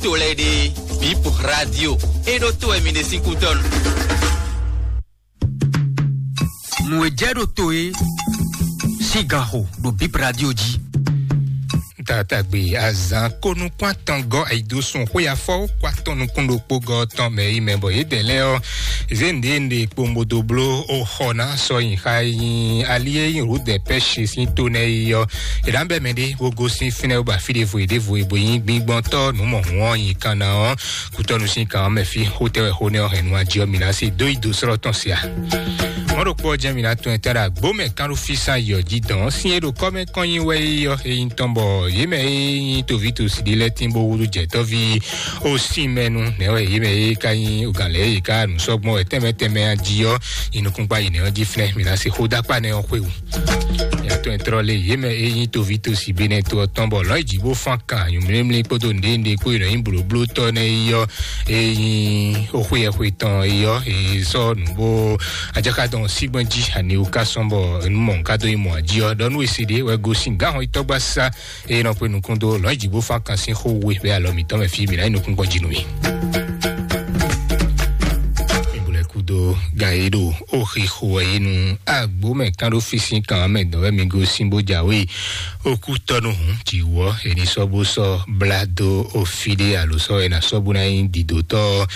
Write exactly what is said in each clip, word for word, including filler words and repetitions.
To lɛ́ɛ ɖe, Bip Radio, é ɖó to wɛ mi ɖe sín kútɔ́nu. Nǔ e jɛ ɖo to e sín ganxo ɖo Bip Radio jí. Tatagbe azan ko nukún atɔngɔ ayidosun xwé afɔ kó atɔn nukún ɖokpó gɔ tɔn mɛ yi mɛ bɔ yě dɛ lɛ ɔ, zé nɖe nɖe kpombodo bló o xɔ ná sɔ nyi xa yi ali e nyi rudɛ pɛ́ si sín to nɛ yi ɔ. È nǎ bɛ mɛ ɖé bó gosín fínɛ́ bó ba fí ɖěvo e ɖěvo e bó nyí gbíngbɔ́ntɔ́ nǔ mɔ hǔn ɔ́ nyi kan ná ɔ́, kútɔ́nu sín kan ɔ́ mɛ fí xótɛ́ wɛ xó nɛ́ ɔ́ hɛn nú ají ɔ́ mi ná se dó yi dó srɔ́ tɔn se a? Mɔ̌ ɖokpó ɔ́ jɛ́n mi ná tún ɛ tɛ́ ɖo agbǒ mɛ kán ɖó fí sán yɔ jí dɔn ɔ́ sín é ɖo kɔ́ mɛ kɔn nyi wɛ yi ɔ́ e nyí tɔn bɔ yě mɛ e nyí toví tosi ɖé lɛ́ɛ tín bó húzú jɛ̌tɔ́ví ó sín mɛ nu nɛ̌ wɛ yě mɛ e ka nyí gǎn lɛ́ɛ yě ká nǔ sɔ́ gbɔn wɛ tɛnmɛ tɛnmɛ a jí ɔ́ nyi nukúnkpá yi nɛ̌ ɔ́ jí flɛ́n mi ná se xó dó akpá nɛ́ ɔ́ xwé wú. Yàtọ̀ ẹ̀ trɔ lé yě mɛ e nyí toví tosi Benɛto ɔ́ tɔn bɔ lɔ̌nyijǐ bó fán kan nyǔmlímlí kpódó nǔɖénúɖé kpó e nɔ nyí blǒblótɔ́ nɛ́ yi ɔ́, e nyí oxwé yɛxwe tɔn yi ɔ́, e sɔ́ nǔ bó ajáka dɔn sígbɔn jí aniwu ká sɔ́n bɔ nǔ mɔ nǔ ká dó nyí mɔ̌ jí ɔ́, ɖɔ nú e se ɖé wɛ gosín gǎn hɔn yi tɔ́gbá sá e nɔ xwe nukún dó lɔ̌nyijǐ bó fán kan sín xó we bɛ alɔ mǐtɔn mɛ fí mǐ ná nyí nukúnkpɔ́n jí nú mì. Mǐ bu lɛ́ kú dó gǎn e ɖo ó xixo wɛ é nu agbǒ mɛ kán ɖó fí sín kan mɛ dɔn wɛ mi gosín bó jǎwe. Okútɔ́nu hǔn jǐwɔ è ní sɔ́ bó sɔ́ blá dó ofí ɖé alo sɔ́ è nǎ sɔ́ bó ná nyí dǐdótɔ́ ɔ́,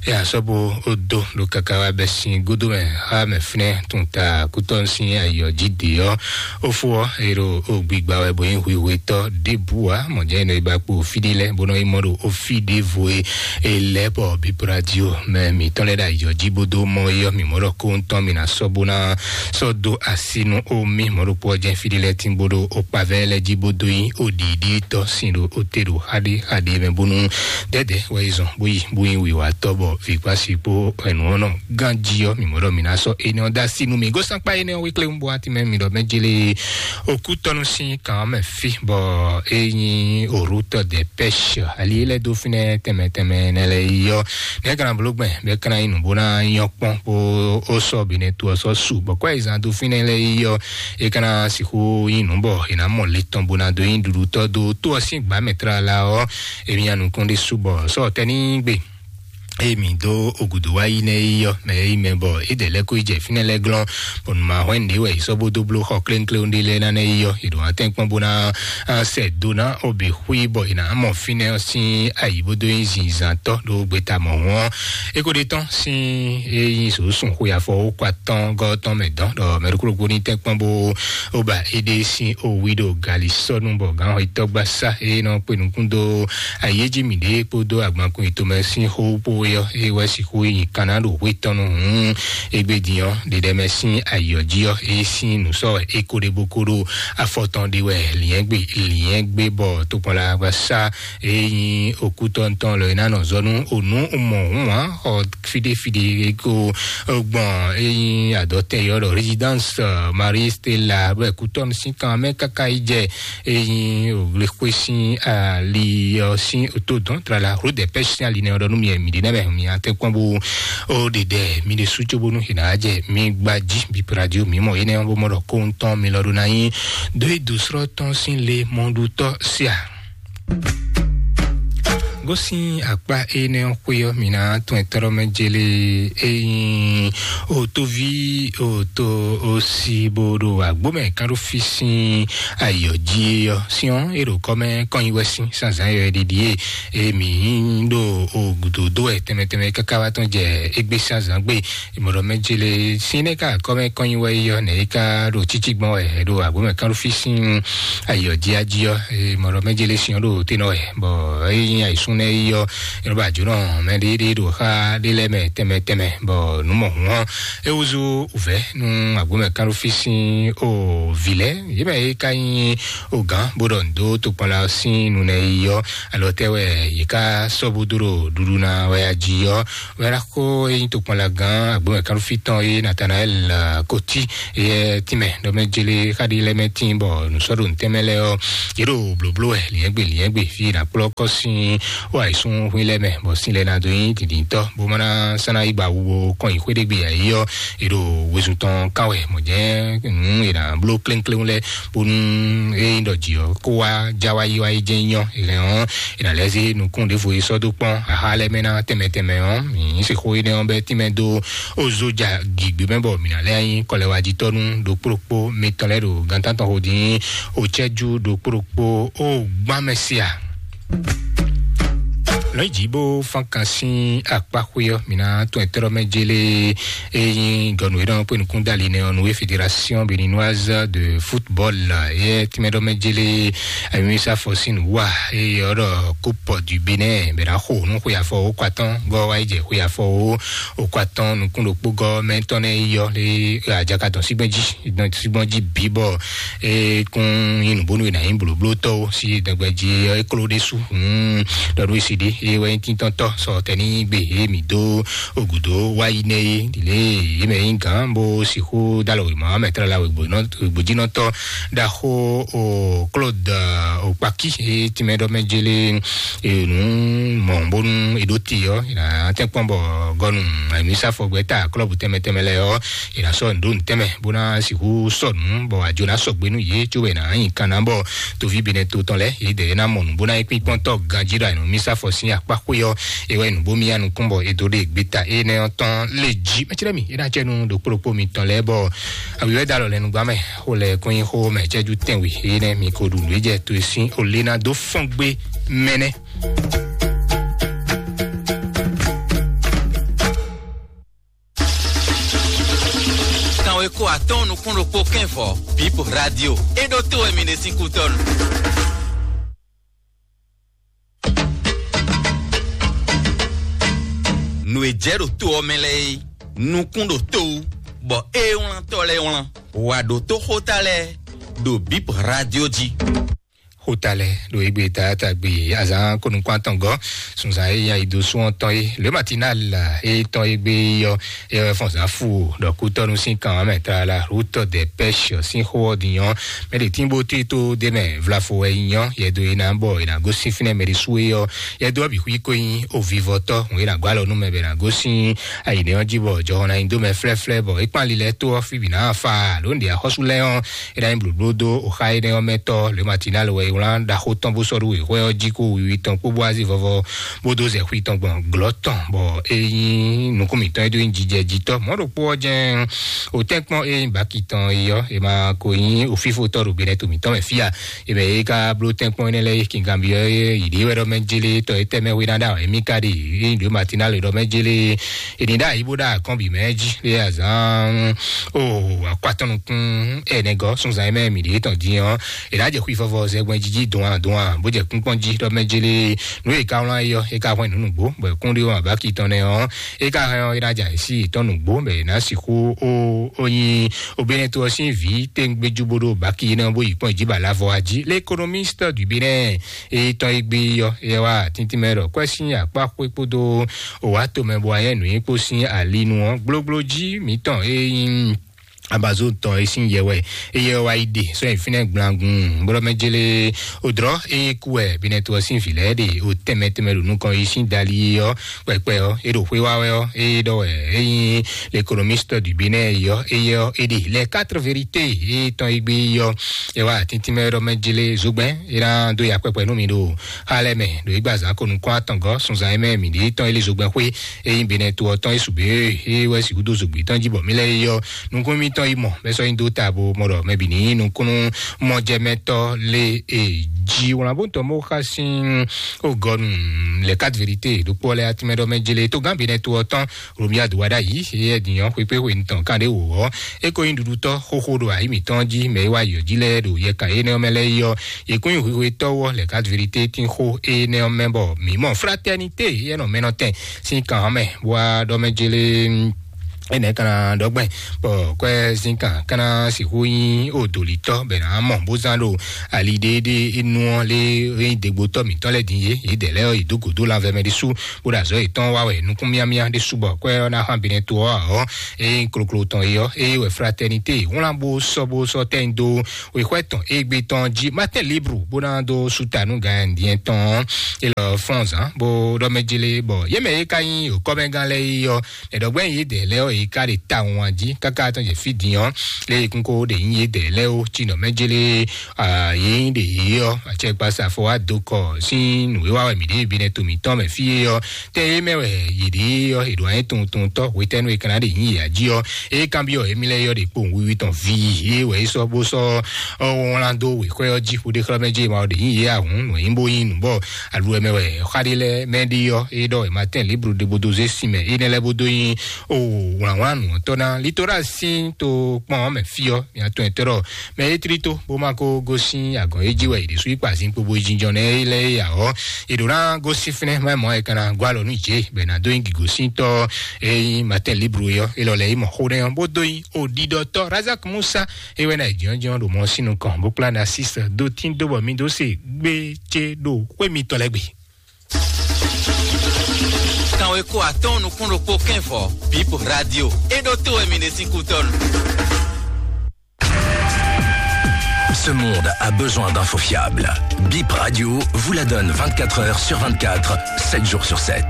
è nǎ sɔ́ bó dó ɖo káká wá bɛ́ sín gúdo mɛ xá mɛ fínɛ́ tun ta kútɔ́nu sín ayǐ ɔ́ jí dě ɔ́. Ó fó ɔ́, è ɖo ó gbigba wɛ bó nyí hwihwetɔ́ ɖěbǔ ǎ. Mɔ̌ jɛ́n è nɔ yi ba kpo ofí ɖé lɛ́ɛ bó nɔ yi mɔ ɖo ofí ɖěvo e è lɛ́ bɔ bíbradio mɛ mǐtɔn lɛ́ɛ ɖo ayǐ ɔ́ jí bó dó mɔ é ɔ́, mǐ mɔ ɖɔ kóhun tɔn mǐ ná sɔ́ bó ná sɔ́ dó así nú ó mì mɔ̌ ɖokpó ɔ́ jɛ́n fí ɖé lɛ́ɛ tín bó ɖo okpavɛ́ lɛ́ɛ jí bó dó nyí ó ɖiɖítɔ́ sin ɖo ó te ɖo xá ɖé xá ɖé mɛ bónú dɛ̌dɛ̌ wɛ yi zɔn bó yi bó nyí wǐwatɔ́ bɔ vǐkpási kpó ɛnǔ ɔ́ nɔ gán jí ɔ́, mǐ mɔ ɖɔ mǐ ná sɔ́ énɛ́ ɔ́ dó así nú mì. Gosán kpá énɛ́ ɔ́ wéklé un bó wá tínmɛ mi ɖɔ mɛ jélé okútɔ́nú sín kan ɔ́ mɛ fí bɔ é nyí òrútɔ dɛ pɛ́sh ali é lɛ́ dó fínɛ́ tɛnmɛ tɛnmɛ nɛ lɛ́ yi ɔ́, nɛ̌ kana bló gbɛn bɛ́ kana nyí nǔ bó ná nyɔ́ kpɔ́n bó ó sɔ́ bǐ nɛ́ to ɔ́ sɔ́ su bɔ kɔ́ e zán dó fínɛ́ lɛ́ɛ yi ɔ́, é kana sixú nyí nǔ bɔ è nǎ mɔ le tɔn bó ná dó nyí ɖuɖutɔ́ dó tó ɔ́ sín gbǎ mɛ tlala ɔ́, émí nya nukún ɖé su bɔ sɔ́ tɛ́ ní gbe. Eye mǐ dó ogudu wá yi nɛ́ yi ɔ́, mɛ e yi mɛ bɔ é dɛ lɛ́ kó yi jɛ fínɛ́ lɛ́ɛ glɔ́n, bɔ nǔ ma hwɛ́n nǔɖé wɛ è sɔ́ bó dó bló xɔ klénkléwún ɖé lɛ́ɛ ná nɛ́ yi ɔ́, è ɖǒ wá tɛ́nkpɔ́n bó ná sɛ dó ná ó bǐ xwí bɔ è nǎ mɔ fínɛ́ ɔ́ sín ayǐ bó dó nyí zinzǎntɔ́ ɖó gbeta mɔ̌hun ɔ́. É ko ɖe tɔ́n sín é nyí sǒsún xwe afɔ ó kɔ atɔ́n gɔ́ tɔn mɛ dɔn ɖɔ mɛ ɖokpó ɖokpó ní tɛ́nkpɔ́n bó ó ba éɖée sín ó wí ɖo gali sɔ́ nú bɔ gǎn xɔ yi tɔ́gbá sá é nɔ kpe nukún dó ayéjí mǐɖée kpódó agbankun yětɔn mɛ sín xó kpó é ɔ́, é wɛ sixú nyi kanna ɖo hwé tɔn nú hǔn égbé din ɔ́, ɖeɖɛ mɛ sín ayǐ ɔ́ jí ɔ́, é sín nǔ sɔ́ wɛ é ko ɖe bó ko ɖo afɔ tɔn ɖe wɛ lǐnyɛ́gbe lǐnyɛ́gbe bɔ tokpɔnla wá sá é nyí okútɔ́ntɔn lɔ é ná nɔ zɔ nú ònú mɔ hǔn ǎ xɔ fíɖéfíɖé é ko gbɔn é nyí adɔtɛn yɔ ɖɔ résidence Marie Stella bɔ kútɔ́nu sín kan mɛ káká yi jɛ é nyí òwlexwé sín ali ɔ́ sín otodɔn tlala rodɛpɛ́ sín ali nɛ ɔ́ ɖɔ nú mi mi ɖe nɛmɛ mi atɛ kpɔn bó ó ɖe ɖɛ mi ɖe sú cóbónú xi ná jɛ mi gba jí bi radio mi mɔ énɛ́ bó mɔ ɖɔ kóhun tɔn mi lɔ ɖó ná nyí dó yi dǒsrɔ́ tɔn sín le mɔɖutɔ́ sia. Gosín akpá énɛ́ ɔ́ xwé ɔ́, mi ná tún ɛ tɔ́rɔ́ mɛ jélé é nyí òtóví òtó òsì bó ɖo àgbó mɛ kán ɖó fí sín ayǐ ɔ́ jí é ɔ́. Sín ɔ́, é ɖo kɔ́ mɛ kɔn nyi wɛ sín zǎnzǎn yɔ ɖiɖi é. É mǐ ɖo ògùdò dó wɛ tɛnmɛ tɛnmɛ káká wá tɔn jɛ égbé zǎnzǎn gbé. Mɔɖɔ mɛ jele sín nɛ ká kɔmɛ kɔnyi wɛ yɔ nɛ yi ká ɖo títí gbɔn wɛ ɖo agbómɛ kán ɖo fí sín ayɔ jíájí ɔ. Mɔɖɔ mɛ jele sín ɖo tɛnɔ wɛ bɔ eyi nyi ayisún nɛ yi yɔ yɔrɔ bá jónɔ mɛ ɖé ɖé ɖo xa ɖé lɛ mɛ tɛmɛ tɛmɛ bɔ nú mɔ hɔn ewuzu vɛ nú agbómɛ kán ɖo fí sín o vi lɛ yé mɛ yi ká nyi o gán bó ɖɔ ndo tó kpɔn la sín nu nɛ yi yɔ alɔ tɛ wɛ yi ká sɔ́ bó dó ɖo ɖuɖu na wɛ ají yɔ. Wɛrako eyi to kpɔn la gan agbɔn kan fi tɔn ye Nathanael Koti ye tìmɛ dɔmɛ jele kadi lɛ mɛ tin bɔ nusɔdo ntɛmɛ lɛ ɔ ye ɖo blóbló wɛ liɛgbe liɛgbe fi na kplɔ kɔsin Wá ìsún hwín lɛ́ mɛ, bɔ sín lɛ́ ná dó nyí dǐndíntɔ́, bó má ná sán ná yí gba wu bó kɔn nyi xwé ɖé gbe ǎ yi ɔ́, è ɖo wezun tɔn kán wɛ, mɔ̌ jɛ́n nǔ è nǎ bló kléŋkléŋ lɛ́ɛ, bónú é nyí ɖɔ jǐ ɔ́ kó wá já wá yí wá yi jɛ́n nyɔ́. È hɛn ɔ́, è nǎ lɛ́ zé nukún ɖěvo e sɔ́ dó kpɔ́n axa lɛ́ɛ mɛ ná tɛnmɛ tɛnmɛ ɔ́, mǐ sixú énɛ́ ɔ́ bɛ́ tínmɛ dó ó zó ja gǐgbé mɛ, bɔ mǐ ná lɛ́ nyí kɔlɛwájitɔ́ nú ɖokpó ɖokpó mitɔn lɛ́ɛ ɖo gantán tɔn xo dín ó cɛ́jú ɖokpó ɖokpó ó gbán mɛ se a. Lɔ̌nyijǐ bó fán kan sín akpá xwé ɔ́, mǐ ná tún ɛtɛ́ ɖɔ mɛ jélé e nyí gɔnu e nɔ kpé nukún dali nɛ ɔ́, nú fédération béninoise de football, yɛ tínmɛ ɖɔ mɛ jélé ayɔmísá fɔ sín nǔ wa, eye ɔ́ ɖɔ coupe du Bénin bɛ ná xo nú xwe afɔ ó kɔ atɔ́n gɔ́ wá yi jɛ xwe afɔ ó ó kɔ atɔ́n nukún ɖokpó gɔ́ mɛ tɔn nɛ yi ɔ́ lé ajaka tɔn sígbɛ́n jí, sígbɔ́n jí bǐ bɔ é kún nyí nǔbónú e nǎ nyí blǒblótɔ́ ó sí dɛgbɛ jí ɔ́, é kló ɖésú. Ɖɔ nú esi ɖé é wɛ nyí tíntɔ́ntɔ́ sɔ tɛní gbe é mǐ dó ògùdó wá yi nɛ é ɖi lě é mɛ nyí gǎn bó sixú dó alɔ wěma mɛ tlala wěgbójínɔtɔ́ ɖaxó o Claude Okpaki é tínmɛ ɖɔ mɛ jélé nǔ mɔ bónú è ɖó te ɔ́, è nǎ tɛ́nkpɔ́n bɔ gɔnu àmísàfɔgbɛ́ta klɔ́bù tɛnmɛ tɛnmɛ lɛ́ɛ ɔ́, è nǎ sɔ́ nǔ ɖó nǔ tɛnmɛ bó ná sixú sɔ́ nǔ bɔ àjò ná sɔgbe nú yě, cóbɔ è nǎ nyi kan ná bɔ toví Benɛto tɔn lɛ́ɛ yě dɛ é ná mɔ nǔ bó ná nyí kpínkpɔ́ntɔ́ ganjí ɖo àyǐnú mísàfɔ sín akpá xwé ɔ́, é wɛ nǔ bó mì yá nukún bɔ è dó ɖe gbeta énɛ́ ɔ́ tɔn lé jí. Mɛtírɛ mi é ná cɛ nú ɖokpó ɖokpó mitɔn lɛ́ɛ bɔ àwǐwɛ́ dó alɔ lɛ́nu gbá mɛ, xó lɛ kún nyí xó mɛ cɛ́jú tɛnwe énɛ́ mi ko ɖu nǔ é jɛ to e sín olé ná dó fɔ́n gbé mɛ nɛ́. Kanweko atɔ́ɔ́n nukún ɖokpó kɛ́n vɔ̌, Bip Radio. É ɖó tó wɛ mi ɖe sín kútɔ́nu. Nǔ e jɛ ɖo to ɔ́ mɛ lɛ́ɛ é, nukún ɖo to wú, bɔ é wlántɔ́ lɛ́ɛ wlán. Wǎ ɖó tó xóta lɛ́ɛ ɖo Bip Radio jí. Xóta lɛ́ɛ ɖo égbé taátagbe azǎn kónukún atɔngɔ́ sunzan e nyi ayidosun ɔ́ tɔn é, le matinal e tɔn égbé ɔ́, é wɛ fɔn zǎn fu ɖɔ kútɔ́nu sín kan ɔ́ mɛ tlala route des pêches sín xó ɔ́ din ɔ́, mɛ ɖě tín bó tín tó ɖ'é mɛ vlafo wɛ nyí ɔ́, yɛ dó é ná bɔ è nǎ gosín fínɛ́ mɛ ɖé sú é ɔ́, yɛ dó ɔ́ bǐ xwí kó nyí ovivɔtɔ́ hǔn é ná gɔ́ alɔ nú mɛ bɔ è nǎ gosín ayǐnɛ́ ɔ́ jí bɔ jɔhɔn ná nyi dó mɛ flɛ́flɛ́ bɔ é kpán lilɛ tó ɔ́ fí bǐ ná fa lǒ ɖě axɔ́sú lɛ́ɛ ɔ́, é ná nyí blǒbló dó oxa énɛ́ ɔ́ mɛ tɔ́ le matinal wɛ é wlán ɖaxó tɔn bó sɔ́ ɖó wěxwɛ́ ɔ́ jí kó wiwi tɔn kpó bó azí vɔvɔ bó dó zɛ xwi tɔn gbɔn glɔ́ tɔn, bɔ é nyí nukún mǐtɔn é dó nyí jijɛjitɔ́. Mɔ̌ ɖokpó ɔ́ jɛ́n òtɛ́nkpɔ́n e nyí baki tɔn é ɔ́, è ma ko nyí òfífótɔ́ ɖo gbenɛto mǐtɔn mɛ fí a? È mɛ é ka bló tɛ́nkpɔ́n énɛ́ lɛ́ɛ yi kinganbyɔ́ é yǐɖée wɛ ɖɔ mɛ jélé tɔ é tɛ́ mɛ hwe ná ɖa wɛ émí ka ɖe é nyí ɖo matinal ɖɔ mɛ jélé è ní ɖo ayǐ bó ɖo akɔ́n bǐ mɛ jí lé azǎn o akɔ atɔn nukún ɛnɛ gɔ́ sunzan e mɛ mǐ ɖě tɔn dín ɔ́, è nǎ jɛ xwi vɔvɔ zɛgbɛn jí jí dɔn a dɔn a bó jɛ kúnkpɔ́n jí ɖɔ mɛ jélé nú è ka wlán é ɔ́, é ka hwɛ́n nǔ nǔgbó bɔ è kún ɖé wɔn abáki tɔn nɛ́ ɔ́, é ka hɛn ɔ́ é ná jɛ ayǐ sí yětɔn nǔgbó bɔ è nǎ sixú ó ó nyi obénɛ́ tó ɔ́ sín vǐ téŋgbéjú bó ɖó báki énɛ́ ɔ́ bó yi kpɔ́n jí ba lavɔ a jí. L'économiste du Bénin é tɔn é gbé ɔ́ é wá tíntín mɛ ɖɔ kwɛ́ sín akpá xwé kpódó wǎ tomɛ bɔ ayɛ́ nǔnyinkpo sín alinu ɔ́, gblógbló jí mǐtɔn é nyí Amazon tɔn é sín yɛ wɛ, eye wá yi ɖe sɔ́ yi fínɛ́ gblangun bó ɖɔ mɛ jélé òdrɔ́ é kú wɛ binɛto ɔ́ sín vǐ lɛ́ɛ ɖe o tɛnmɛ tɛnmɛ ɖo nukɔn yi sín dali ɔ́ kpɛkpɛ ɔ́, é ɖo xwé wá wɛ ɔ́, é ɖɔ wɛ é nyí l'économiste du Bénin yɔ, é yɔ é ɖe les quatre vérités é tɔn é gbé yɔ, é wá tíntín mɛ ɖɔ mɛ jélé zogbɛn é ná dó ya kpɛkpɛ nú mi ɖo xá lɛ́ɛ mɛ ɖo é gba zǎn ko nukún atɔngɔ́ sunzan é mɛ mǐ ɖe tɔn é lé zogbɛn xwé é nyí benɛ to ɔ́ tɔn é su bě é wɛ sixú dó zogbě tɔn jí bɔ mí lɛ́ é yɔ nukún mítɔn yi mɔ bɛ sɔ nyi dó ta bo mɔ ɖɔ mɛ bǐ ní nyí nukúnnú mɔjɛmɛtɔ́ lé e jí wlán bó tɔn bó xa sín o gɔnu les quatre vérités ɖokpó lɛ atimɛ ɖɔ mɛ jele tó gán benɛ to ɔ́ tɔn Romuald Wadagni é dìyàn xwépéxwé nìtɔn kánɖé wò ɔ́ é ko nyí ɖuɖutɔ́ xóxó ɖo ayǐ mǐtɔn jí mɛ é wá yɔ jí lɛ́ɛ ɖo yɛkan énɛ́ ɔ́ mɛ lɛ́ɛ yɔ yě kún nyí hwihwetɔ́ ɔ́ les quatre vérités tín xó énɛ́ ɔ́ mɛ bɔ mǐ mɔ fraternité énɛ́ ɔ́ mɛ nɔ tɛn sín kan ɔ́ mɛ bó wá ɖɔ mɛ jele Énɛ́ ka ná ɖɔ gbɛn, bɔ kwɛ́ zínkan ka ná sixú nyí odolítɔ́ bɛ ná mɔ bó zán ɖo ali ɖééɖé énú ɔ́ lé é nyí degbotɔ́ mǐtɔn lɛ́ɛ din yé, yědɛɛ lɛ́ɛ ɔ́, yě dó gǒdó lanvɛ mɛ ɖésú, bó ɖo azɔ̌ yětɔn wa wɛ nukún míámíá ɖésú bɔ kwɛ́ ɔ́ ná xán Benɛto ɔ́ ǎ ɔ́, é nyí kloklo tɔn é ɔ́, é wɛ Fraternité wlán bó sɔ́ bó sɔ́ tɛ́nyi dó wěxwɛ́ tɔn égbé tɔn jí Martin Libre bó ná dó súta nú Gayandien tɔn élɔ́ fɔ́nzán bó ɖɔ mɛ jélé bɔ yě mɛ é ka nyí òkɔ́mɛgán lɛ́ɛ é ɔ́, Ɛdɔgbɛn yi dɛ lɛ ɔ yi ka ɖe ta wan jí kaka tɔn jɛ fi din ɔ, le yi kún ko ɖe yi ye dɛ lɛ o ci nɔ mɛ jele a yi ɖe yi ɔ, atsɛkpasa fɔ wa do kɔ sin nu wa wɛ mi ɖe bi nɛ to mi tɔn mɛ fi ye ɔ, tɛ ye mɛ wɛ yi ɖe ɔ, eɖo anyi tun tun tɔ wetɛnu e kana ɖe yi ya jí ɔ, e kan bi ɔ emi lɛ yɔ ɖe kpo wiwi tɔn vi ye wɛ yi sɔ bo sɔ ɔ wɔn do wexɔ ɔ jí ƒo ɖe xlɔ mɛ jí ma ɔ ɖe yi ye ahun nɔ yi bo yi nu bɔ aɖu ɛmɛ wɛ xaɖi lɛ mɛ ɖi ɔ, e ɖɔ e ma tɛn libru ɖe bo do zé sin mɛ e nɛ lɛ bo do yi o wlǎnwlán nǔ ɔ́ tɔ́ ná. Litora sín to kpɔn ɔ́ mɛ fí ɔ́, mia tɔn ɛtɔ́ ɖɔ mɛ é tlí tó bó má kó gosín agɔ̌n é jí wɛ è ɖě sú yi kpa zín kpo bó yi jínjɔ́n nɛ́ é lɛ́ é ǎ ɔ́, è ɖǒ ná gosín fínɛ́ má mɔ̌ é ka ná gɔ́ alɔ nú jě bɔ è nǎ dó nyi gǐgosíntɔ́ e nyí Martin Libre ɔ́, é lɔ lɛ́ yi mɔ xó nɛ́ ɔ́ bó dó nyi òɖiɖɔtɔ́ Razak Musa é wɛ ná yi jínjɔ́n ɖo mɔ sín nukɔn bó kplá ná sísɛ dó tín dó bɔ mi dó se gbé cé ɖo xwé mitɔn lɛ́ɛ gbe. Kanweko atɔ́ɔ́n nukún ɖokpó kɛ́nvɔ, Bib Radio. É ɖó tó wɛ mi ɖe sín kútɔ́nu. Ce monde a besoin d'infos fiables. Bip Radio vous la donne vingt-quatre heures sur vingt-quatre, sept jours sur sept.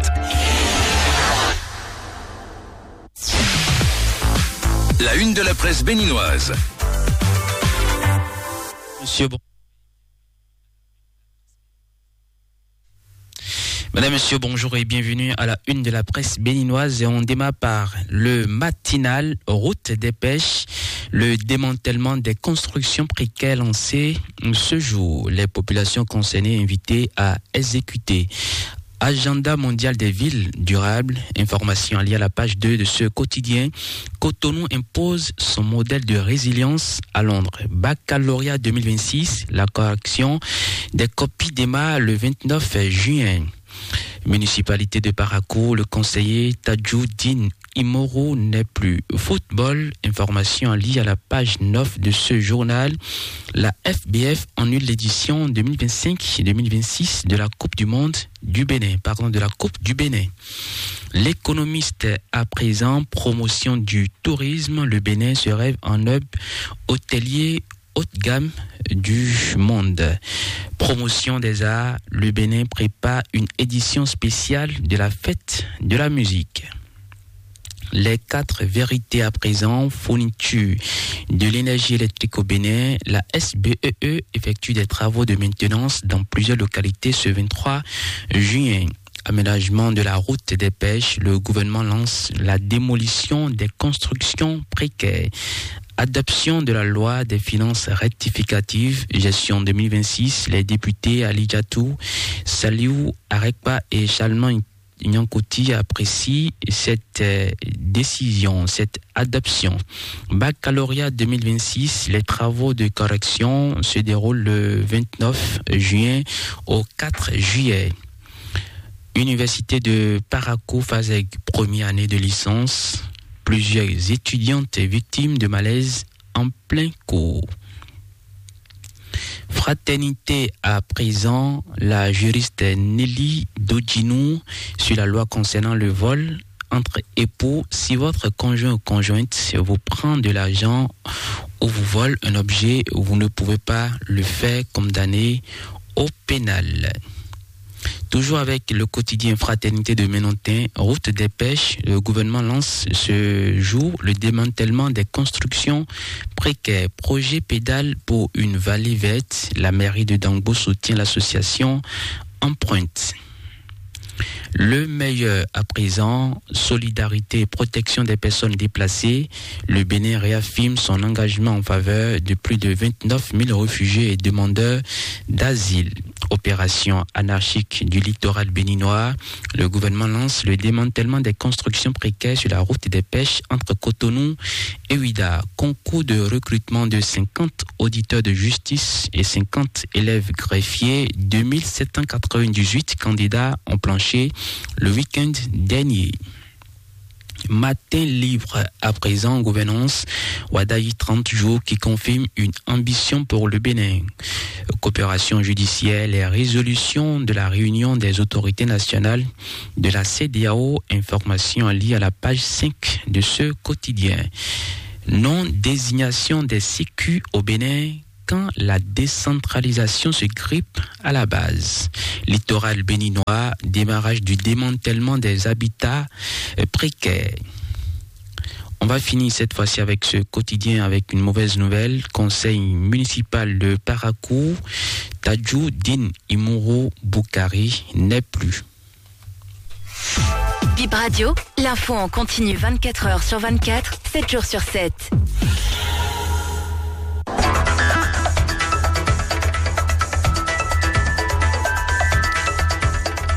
La une de la presse béninoise. Monsieur, bon. Madame, Monsieur, bonjour et bienvenue à la une de la presse béninoise. Et on démarre par le matinal, route des pêches, le démantèlement des constructions précaires lancé ce jour. Les populations concernées invitées à exécuter. Agenda mondial des villes durables, information liée à la page deux de ce quotidien. Cotonou impose son modèle de résilience à Londres. Baccalauréat deux mille vingt-six, la correction des copies démarre le vingt-neuf juin. Municipalité de Parakou, le conseiller Tadjoudine Imoro n'est plus. Football, information liée à la page neuf de ce journal. La F B F annule l'édition deux mille vingt-cinq deux mille vingt-six de la Coupe du Monde du Bénin, pardon, de la Coupe du Bénin. L'économiste à présent, promotion du tourisme, le Bénin se rêve en hub hôtelier haut de gamme du monde. Promotion des arts, le Bénin prépare une édition spéciale de la fête de la musique. Les quatre vérités à présent, fourniture de l'énergie électrique au Bénin, la S B E E effectue des travaux de maintenance dans plusieurs localités ce vingt-trois juin. Aménagement de la route des pêches, le gouvernement lance la démolition des constructions précaires. Adoption de la loi des finances rectificatives, gestion deux mille vingt-six, les députés Ali Diatou, Saliou Arekpa et Chalman Nyankoti apprécient cette euh, décision, cette adoption. Baccalauréat deux mille vingt-six, les travaux de correction se déroulent le vingt-neuf juin au quatre juillet. Université de Parakou, Fazeg, première année de licence. Plusieurs étudiantes victimes de malaise en plein cours. Fraternité à présent, la juriste Nelly Dodjinou sur la loi concernant le vol entre époux. Si votre conjoint ou conjointe vous prend de l'argent ou vous vole un objet, vous ne pouvez pas le faire condamner au pénal. Toujours avec le quotidien Fraternité de Ménontin, route des pêches, le gouvernement lance ce jour le démantèlement des constructions précaires. Projet pédale pour une vallée verte, la mairie de Dangbo soutient l'association Empreinte. Le meilleur à présent, solidarité et protection des personnes déplacées. Le Bénin réaffirme son engagement en faveur de plus de vingt-neuf mille réfugiés et demandeurs d'asile. Opération anarchique du littoral béninois. Le gouvernement lance le démantèlement des constructions précaires sur la route des pêches entre Cotonou et Ouidah. Concours de recrutement de cinquante auditeurs de justice et cinquante élèves greffiers. Deux mille sept cent quatre-vingt-dix-huit candidats ont planché le week-end dernier. Matin Libre, à présent en gouvernance, Wadayi, trente jours qui confirme une ambition pour le Bénin. Coopération judiciaire, les résolutions de la réunion des autorités nationales de la C D A O, information à lire à la page cinq de ce quotidien. Non-désignation des C Q au Bénin quand la décentralisation se grippe à la base. Littoral béninois, démarrage du démantèlement des habitats, euh, précaires. On va finir cette fois-ci avec ce quotidien avec une mauvaise nouvelle. Conseil municipal de Parakou, Tadjoudine Imuru Boukari n'est plus. Bip Radio, l'info en continu vingt-quatre heures sur vingt-quatre, sept jours sur sept.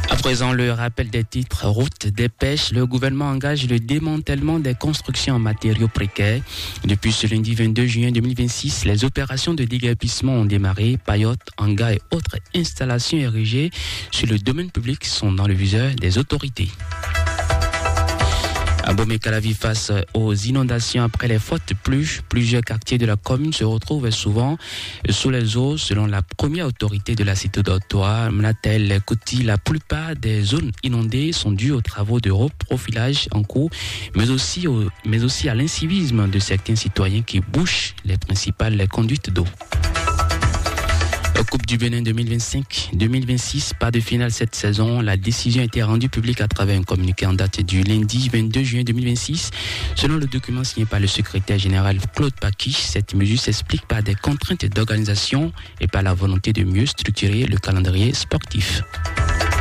À présent, le rappel des titres. Route des pêches, le gouvernement engage le démantèlement des constructions en matériaux précaires. Depuis ce lundi vingt-deux juin deux mille vingt-six, les opérations de déguerpissement ont démarré. Paillotes, hangars et autres installations érigées sur le domaine public sont dans le viseur des autorités. Abomey-Calavi face aux inondations après les fortes pluies. Plusieurs quartiers de la commune se retrouvent souvent sous les eaux, selon la première autorité de la cité d'Ortois, Mnatel Kuti. La plupart des zones inondées sont dues aux travaux de reprofilage en cours, mais aussi au, mais aussi à l'incivisme de certains citoyens qui bouchent les principales conduites d'eau. Coupe du Bénin deux mille vingt-cinq deux mille vingt-six, pas de finale cette saison. La décision a été rendue publique à travers un communiqué en date du lundi vingt-deux juin deux mille vingt-six. Selon le document signé par le secrétaire général Claude Paki, cette mesure s'explique par des contraintes d'organisation et par la volonté de mieux structurer le calendrier sportif.